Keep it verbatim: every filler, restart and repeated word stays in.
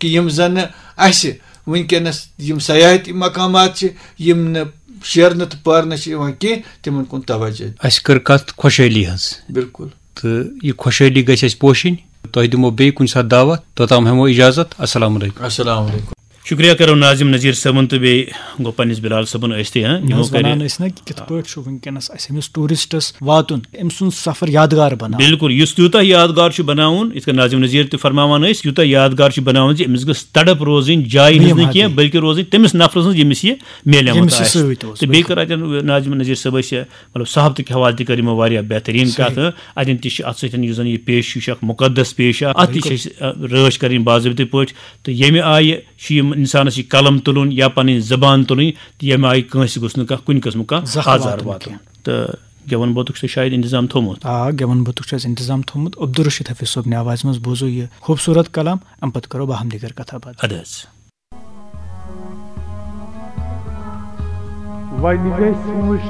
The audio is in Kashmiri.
کہِ یِم زَن نہٕ اَسہِ وٕنکیٚنَس یِم سیاحتی مقامات چھِ، یِم نہٕ شیرنہٕ تہٕ پرنہٕ چھِ یِوان کینٛہہ، تِمَن کُن توجہ۔ اَسہِ کٔر کَتھ خۄشحٲلی ہٕنٛز۔ بِلکُل۔ تہٕ یہِ خۄشحٲلی گژھِ اَسہِ پوشِنۍ۔ تۄہہِ دِمو بیٚیہِ کُنہِ ساتہٕ دعوت، توٚتام ہٮ۪مو اِجازت۔ السلام علیکم۔ السلام علیکم۔ شُکریہ کرو ناظم نذیر صٲبُن تہٕ بیٚیہِ گوٚو پننِس بلال صٲبُن ٲسۍ تہِ، ہاں، نہ یِمو حظ، کَرِ وَنان ٲسۍ نہ کہِ کِتھ پٲٹھۍ چھُ وٕنکیٚنَس اَسہِ أمِس ٹوٗرِسٹَس واتُن، أمۍ سُنٛد سفر یادگار بَناوُن۔ بِلکُل، یُس تیوٗتاہ یادگار چھُ بَناوُن، یِتھ کٔنۍ ناظم نذیر تہِ فرماوان ٲسۍ، یوٗتاہ یادگار چھُ بَناوُن زِ أمِس گٔژھ تڑپ روزٕنۍ جایہِ ہٕنٛز نہٕ کینٛہہ، بلکہِ روزٕنۍ تٔمِس نفرَس ہٕنٛز، ییٚمِس یہِ میلیمُت ییٚمِس یہِ آسہِ۔ سۭتۍ اوس، تہٕ بیٚیہِ بِلکُل۔ کٔر اَتٮ۪ن ناظم نذیر صٲب ٲسۍ، مطلب، صحافتہٕ کہِ حوالہٕ تہِ کٔر یِمو واریاہ بہتریٖن صحیح۔ کَتھ۔ اَتٮ۪ن تہِ چھِ اَتھ سۭتۍ یُس زَن یہِ پیش چھُ، یہِ چھُ اَکھ مُقدس پیش اَکھ۔ اَتھ تہِ چھِ بِلکُل۔ أسۍ، آ، رٲچھ کَرٕنۍ باضٲبطہٕ پٲٹھۍ۔ تہٕ ییٚمہِ آیہِ چھُ یِم اِنسانَس یہِ قلم تُلُن یا پَنٕنۍ زبان تُلٕنۍ، تہٕ ییٚمہِ آیہِ کٲنٛسہِ گوٚژھ نہٕ کانٛہہ کُنہِ قٕسمُک کانٛہہ زَخ آزار واتُن واتُن۔ کینٛہہ۔ تہٕ گٮ۪وَن بوتُک چھُ شاید اِنتظام تھوٚومُت۔ آ، گٮ۪وَن بوتُک چھُ اَسہِ اِنتظام تھوٚومُت۔ عبدالرشید حفیظ صٲبنہِ آوازِ منٛز بوزو یہِ خوٗبصوٗرت کلام، اَمہِ پَتہٕ کَرو باہم دیٖگر کَتھا باتھ۔ اَدٕ حظ۔ وۄنۍ گژھِ وٕچھ